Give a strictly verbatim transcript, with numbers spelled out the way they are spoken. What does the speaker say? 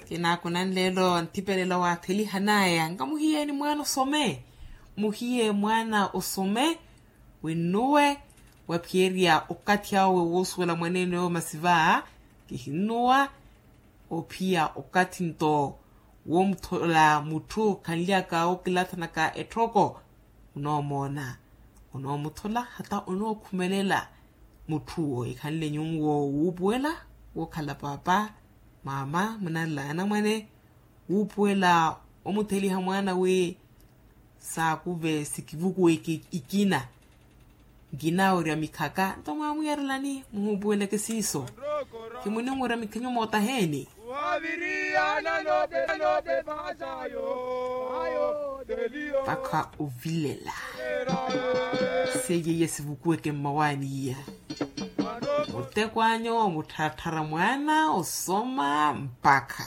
Kinaakunani leelo nthipelela waathelihanaya nkamuhiyeeni mwaana osome. Muhiye mwaana osome, winnuwe waphiyerya okathi awe woosuwela mwaneene oyo masiva. Kihinnuwa ophiya okathi nto woomuthola mutthu khanlyaka okilathanaka etthoko. Onoomoona, onoomuthola hata onookhumelela. Mutthu owo ekhanle nyuwo wuupuwela wookhala paapa, maama munanla anamwane, wuupuwela omutheliha mwaana wi saakuve sikivukuwe ikina. Nkinawerya mikhaka nto mwaamuyarelani muhuupuweleke siiso. Khimuniwerya mikhanyu mootaheeni. Mpakha ovilela seiye iya sivukuweke mmawaani iya. Muteko anyu muttharattharya mwaana osoma mpakha